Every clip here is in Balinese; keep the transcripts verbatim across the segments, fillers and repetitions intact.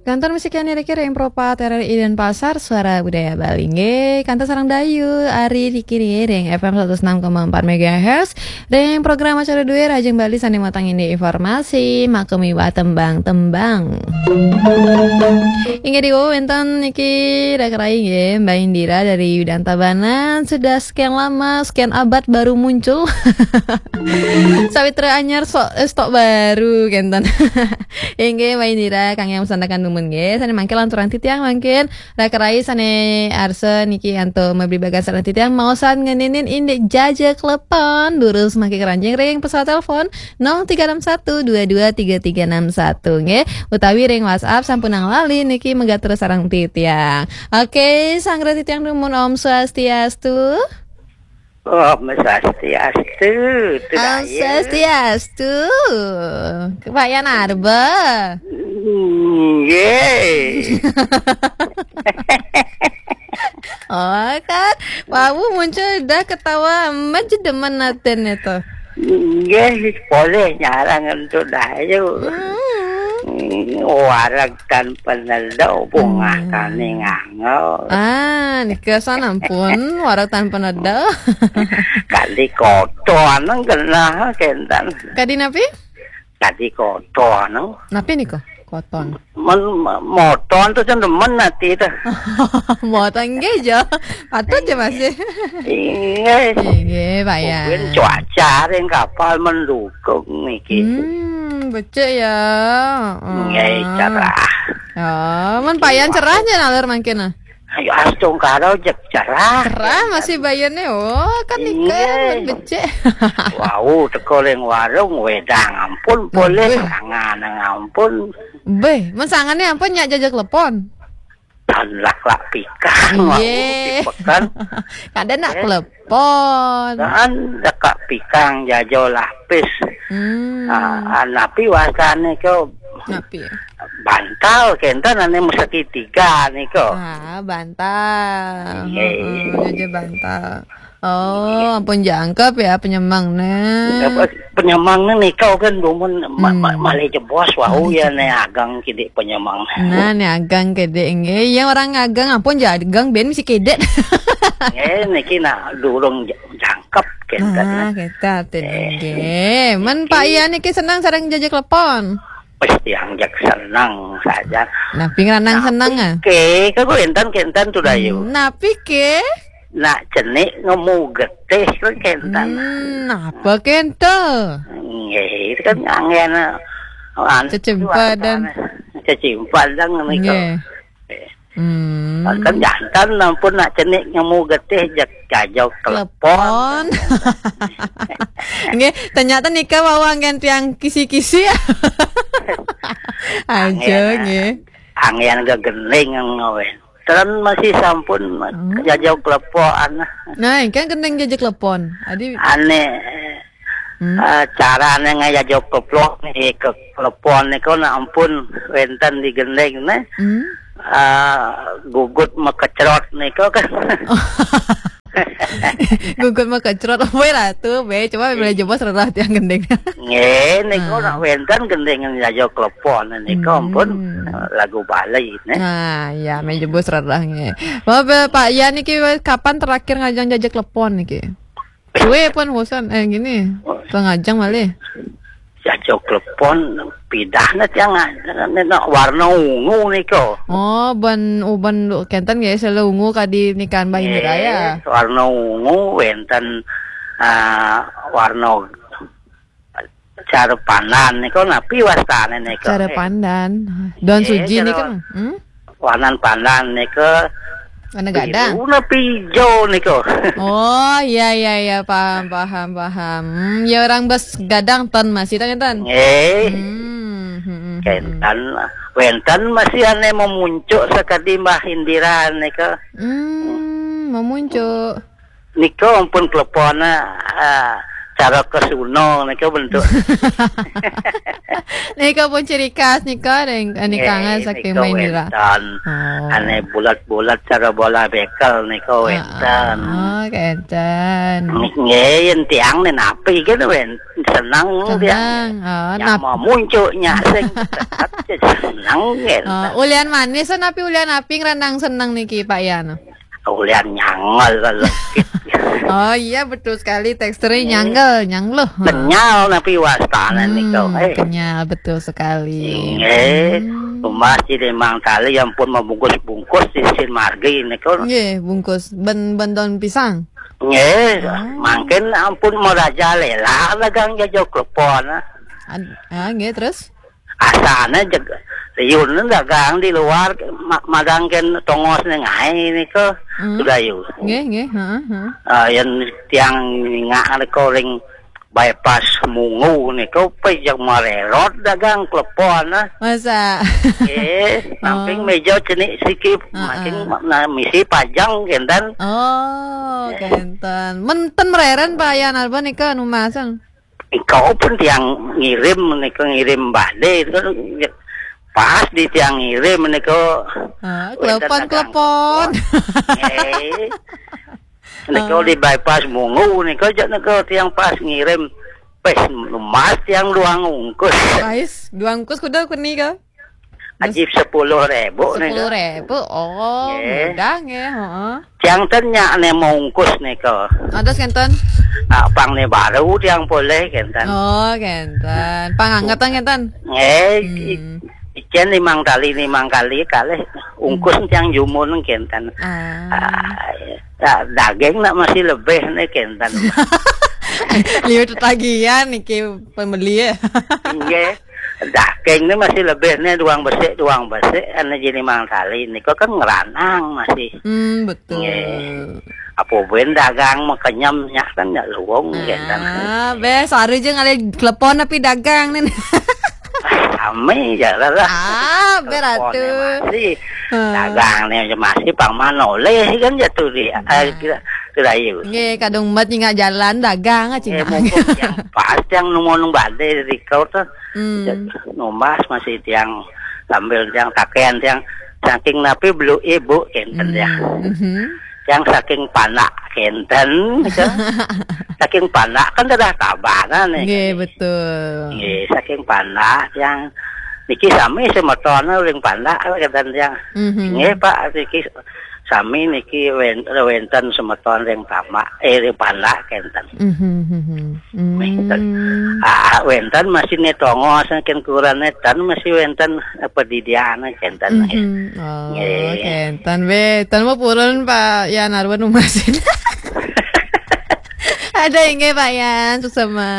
Kantor musik yang niriki ring Pro empat R R I Denpasar, Suara Budaya Bali. Nggih, kantor sareng Dayu, Ari Dikiri ring F M seratus enam koma empat megahertz, ring program acara dué Rahajeng Bali sané matang indik informasi, makamiwah tembang-tembang. Inggih, diwau wénten niki Rakarai nggih, Mbak Indira dari Yudan Tabanan, sudah sekian lama, sekian abad baru muncul. Sawitra anyar sok, eh, stok baru, kénten. Inggih, Mbak Indira, kang yang pesan tekan dumun nggih. Sané mangkin lanturang titiang mangkin. Rakarai sané arsa niki antuk mabli bagas sareng titiang maosan ngeninin indik jaja klepon, durus mangkin keranjing ring pesawat telepon nol tiga enam satu dua dua tiga tiga enam satu nggih. Utawi ring WhatsApp sampunang lali niki megat terus sareng titiang. Oke, sanggra titiang dumun, Om Swastiastu. Om Swastiastu, Om Swastiastu. Kepayan arba. Nggih. Oh, kan. Wau muncul dah ketawa, amat je demen atin itu. Nggih, polih nyarang entuk Dayu. Hmm. Hmm, wareg tan peneda, bungah Hmm. Tani ngangel. Ah, nika san ampun, wareg tan peneda. Kadi koton genah kénten. Kadi napi? Kadi koton. Napi nika? Koton. Men, moton tu cen demen ati tu. Moton nggih ja. Patut ja masih. Inggih. Inggih, Pak Yan. Mungkin cuaca ring kapal mendukung niki. Hmm, becik ya. Nggih, cerah. Oh, men Pak Yan cerah ja naler mangkin ah. Ayo, astungkara jek cerah. Cerah masih bayarnya. Oh, kan nika Nggih. Men becik. Wau teka ring warung, wedang ampun polih, Nggih. Sangan ampun. Beh, men sangannya ampun nyak jaja klepon. Tan lak-lak pikang, wau Nggih. Di pekan. Kada nak Eh. Klepon. Tan lak pikang jaja lapis. Hmm. Ah, ah, napi wastané nika? Napi? Bantal, kénten ané segitiga nika. Ah, bantal. Nggih. Heeh, jaja bantal. Oh, ampun jangkep ya penyemang né. Ya, pe-, penyemang né nika kan dumun ma-, ma-, Hmm. Malih jebos wau Malih ya jebos. Né ageng kidik penyemang. Nah, né ageng kidik nggih. Ya orang ageng ampun ja ageng ben mesti kidik. Nggih, niki nak durung ja-, jangkep kénten. Nah, kita atin Eh. Nggih. Men Pak Iya niki seneng sareng jaja klepon. Wis tiang jak seneng saja. Napi ngranang seneng ah? Ké, kagok kénten-kénten tu Dayu. Hmm, napi ké? Nak cenik ngemu getih kagok kénten. Hmm, napa kénten? Nggih, itu kan anggén, ah, anu, Cecimpadan. Cecimpadan nika. Nggih. Eh. Hmm. Kan jantan ampun nak cenik ngemu getih jak jaja klepon. Klepon. Nggih, ternyata nika wau anggén tiang kisi-kisi. Aja Anggén, nggih. Anggén gegending ngawé. Tren masih sampun Hmm. Jaja klepon. Nah, kan gending jaja klepon. Adi Ané Hmm. Ah, carané ngajaja klepon, eh, ke klepon nika nak ampun wénten di gending né. Hmm. Ah, gugut makecrot nika kan. Gugut makecrot, wé ratu, bé, coba bila jebos rerah tiang gending. Nggih, nika Ah. Nak wénten gending jaja klepon nika Hmm. Ampun, ah, lagu Bali né. Nah, ya, mé jebos rerah nggih. Wah, bé, Pak Yan niki wé kapan terakhir ngajang jaja klepon niki? Sué pun bosan, eh, gini. Pengajang malih. Jaja klepon pidah na tiang, ah, na, na, warna ungu nika. Oh, ban, oh, ban kénten nggih, sela ungu kadi nikahan Mbah Indira ya. Nggih, warna ungu wénten, ah, warna cara pandan nika napi wastané nika? Cara Eh. Pandan. Daun Eh, suji cara nika. Hmm? Warnan pandan nika Warna gadang. Biru napi ijo nika? Oh, iya, iya, iya, paham, paham, paham. Hmm, ya orang bes gadang ton masih tanya ton. Nggih. Hmm, hmm, hmm, hmm. Kénten, wénten masih ané memuncuk sakadi Mbah Indira nika. Hmm, memuncuk. Nika ampun klepon, ah, Cara kesuna nika bentuk. Nika pun ciri khas nika, nika saking Maindira. Wénten. Oh. Ané bulat-bulat cara bola bekel nika wénten. Oh, kénten. Nggih, yén tiang né napi kan wénten seneng tiang. Seneng. Oh, ya nap- mau muncuknya sing tetep seneng kan. Oh, ulian manis napi ulian api ngrendang seneng niki, Pak Yan? Ulian nyangel kalau. Oh iya, betul sekali, teksturnya nyangel, nyangluh. Kenyal napi wastane nika. Hmm, kenyal, betul sekali. Nggih. Hmm. Rumah di limang tali yang pun membungkus-bungkus di sin margi nika. Nggih, bungkus ben ben daun pisang. Nggih, mangkin ampun merajalela dagang jaja klepon. Ad- ah, nggih, terus? Asane jeg riun dagang di luar, ma- madangken tongos ning ae nika. Hmm. Sudayu. Nggih, nggih, heeh, heeh. Ah, yen tiang ningak nika ring bypass Mungu nika pejeg marerot dagang klepon, ah. Masa? Nggih, samping meja cenik siki, heeh, makin ma- na- misi pajang kenten. Oh, kenten. Menten mereren Pak Yan Arban nika anu masang. Engkau pun tiang ngirim nika ngirim bade itu kan pas di tiang ngirim nika. Ah, wénten klepon, dagang klepon. Klepon. Eh. Nika di bypass Mungu nika jak nika tiang pas ngirim. Pes emas tiang dua ungkus. Pais, dua ungkus kuda kuni ka? Ajib sepuluh ribu nih. Sepuluh ribu. Oh, nggih, mudah nggih, heeh. Tiang ten nyak ne maungkus nika. Atas kenten? Ah, pang ne baru tiang boleh kenten. Oh, kenten. Pang anget kenten? Nggih, hmm. I- ijen limang kali, limang kali kalih ungkus hmm. Tiang jumun kenten. Ah. Ah, ya, daging nak masih lebih nih kenten. Liwat tagihan niki pembeli ya. Nggih. Daging ni masih lebih ni duang besik, duang besik, ane jini mang tali ni. Kau kan ngeranang masih. Hmm, betul. Nggih. Apa ben dagang makenyem nyak kan nyak luwung nggih kan. Ah, bes hari je ngalih telepon tapi dagang ni. Sami je lah. Ah, beratu. Masih. Ha. Dagang ni je masih pang manoleh kan jatuh di. Ah, kira kira ayu. Nggih, kadung mat nyingak jalan dagang ah cingak. Mumpung yang pas yang nemu nung badai di kau tu. Hmm. Numbas masih tiang sambil tiang takean tiang saking napi belu ibu kenten tiang. Hmm. Mhm. Tiang saking panak kenten, gitu. Saking panak kan dah tabanan nih. Nggih, betul. Nggih, saking panak tiang niki sami semeton ring panak kenten tiang. Mhm. Nggih, Pak, niki sami niki wen- wenten semeton ring panak, eh, ring panak kenten. Mhm, mhm. Hmm. Wenten. Ah, wenten masih ne tongos ken kurane tan masih wenten apa didiana kenten. Mhm. Oh, nggih. Kenten we, tan mau purun Pak Yan Arwan masih. Ada inggih Pak Yan, suksema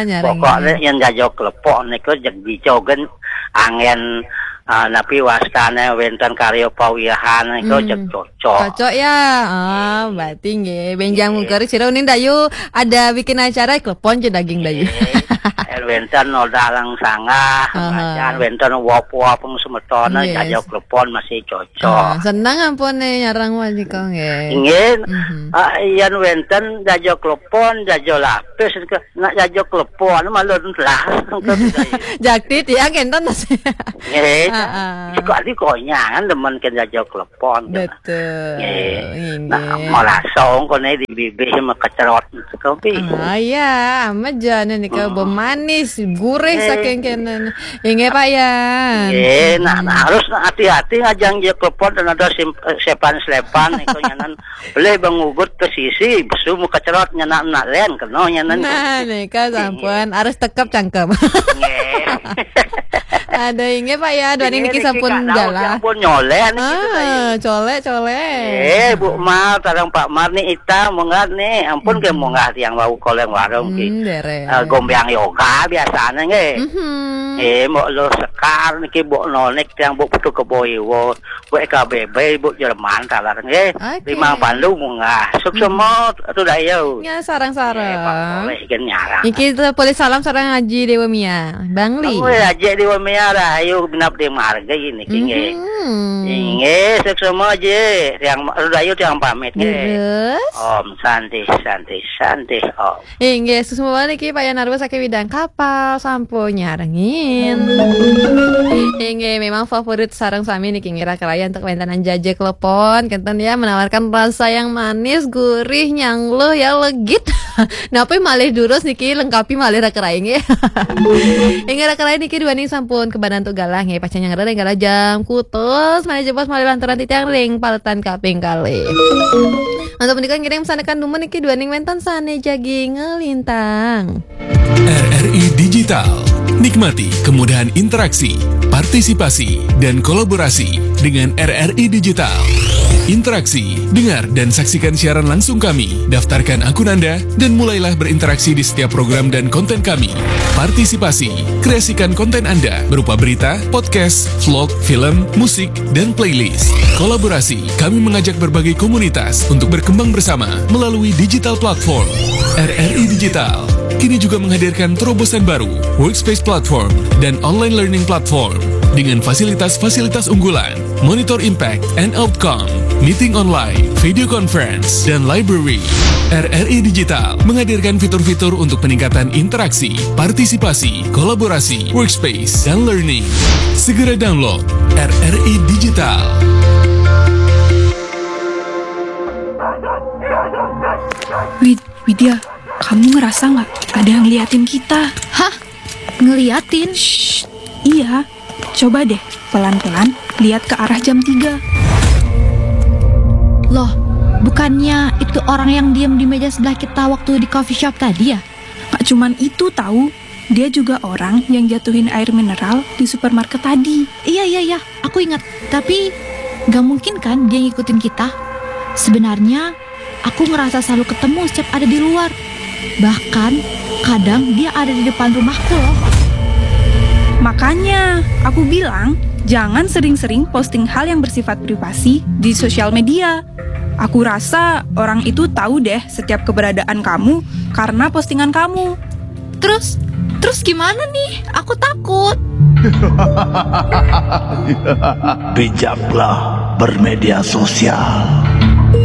nyarang. Pokoknya yang jajok lepok niku jeg dicogen angen ah, napi wastane wenten karya pawiyahan niku hmm. Jeg cocok. Cocok ya. Ah, berarti nggih. Benjang mungkari sira unin dayu ada bikin acara klepon je daging dayu. Nggih. Yen wenten nodalang sanggah, aha. Macan wenten wop-wop semetone yes. Jaja klepon masih cocok. Ah, seneng ampun nih nyarang wali kok nggih. Nggih. Mhm. Ah, yen wenten jaja klepon, jaja lapis ke nak jaja klepon malu lah. Jakti tiang kenten. Nggih. Heeh. Suka di konyangan demen ke jaja klepon. Betul. Nggih. Nah, malasong kone di bibih mekecrot kopi. Ah, iya, amat jane nika hmm. Bemanis, gurih nggih. Saking kenen. Inggih Pak Yan. Nggih, nah, hmm. Nah, harus hati-hati ngajang je klepon dan ada sim- eh, sepan-slepan niku nyanan Beli bang ugut ke sisi, besu muka cerot nyenak nak len kena nyenan. Nah, nika sampun harus tekep cangkem. Nggih. Ada inggih Pak ya, dua ini niki sampun jalan. Sampun nyolen. Ah, colek colek. Eh, Bu Mar, tarang Pak Mar ni ita munggah ni, ampun ke munggah tiang wau koleng warung ki. Hmm, dereng. Eh, gombyang yoga Ah, biasane nggih. Mhm. Eh, mbok Lo Sekar niki, mbok Nonik, tiang mbok Putu Kebo Iwo, mbok E K B B, mbok Jerman taler nggih. Oke. Limang Pandu munggah. Suksema, Ratu Dayu. Ya, sareng-sareng. Eh, Pak Soleh gen nyarang. Iki tuh boleh salam sareng Haji Dewa Mia. Bang Li. Oh, ya, Haji Dewa Mia, Rahayu, binab di marga ini nggih. Mhm. Inggih, suksema, Ji. Tiang Ratu Dayu, tiang pamit nggih. Terus? Om Santi, Santi, Santi, Om. Inggih, suksma niki Pak Yanarwa saking Widang Kapal, sampun nyarengin. Inggih, memang favorit sareng sami niki ngira keraya untuk wentanan jaje klepon, kenten ya, menawarkan rasa yang manis, gurih, nyangluh ya, legit. Napi malih durus niki, lengkapi malih ra keraya nggih. Inggih, ra keraya niki duaning sampun kebanan untuk galah nggih, pacang nyanggra ring galah jam kutus, malih jebos malih lantaran titiang ring paletan kaping kalih. Untuk menika ngiring pesan tekan dumun niki duaning wénten sané jagi ngelintang. R R I Digital. Nikmati kemudahan interaksi, partisipasi, dan kolaborasi dengan R R I Digital. Interaksi, dengar dan saksikan siaran langsung kami. Daftarkan akun Anda dan mulailah berinteraksi di setiap program dan konten kami. Partisipasi, kreasikan konten Anda berupa berita, podcast, vlog, film, musik, dan playlist. Kolaborasi, kami mengajak berbagai komunitas untuk berkembang bersama melalui digital platform. R R I Digital kini juga menghadirkan terobosan baru, Workspace Platform dan Online Learning Platform dengan fasilitas-fasilitas unggulan, Monitor Impact and Outcome, Meeting Online, Video Conference, dan Library. R R I Digital menghadirkan fitur-fitur untuk peningkatan interaksi, partisipasi, kolaborasi, workspace, dan learning. Segera download R R I Digital. Wid, Widya, kamu ngerasa nggak ada yang ngeliatin kita? Hah? Ngeliatin? Shh, iya. Coba deh, pelan-pelan lihat ke arah jam tiga. Loh, bukannya itu orang yang diem di meja sebelah kita waktu di coffee shop tadi ya? Nggak cuman itu tahu, dia juga orang yang jatuhin air mineral di supermarket tadi. Iya, iya, iya, aku ingat. Tapi gak mungkin kan dia ngikutin kita? Sebenarnya aku ngerasa selalu ketemu setiap ada di luar. Bahkan kadang dia ada di depan rumahku loh. Makanya, aku bilang jangan sering-sering posting hal yang bersifat privasi di sosial media. Aku rasa orang itu tahu deh setiap keberadaan kamu karena postingan kamu. Terus, terus gimana nih? Aku takut. Bijaklah bermedia sosial.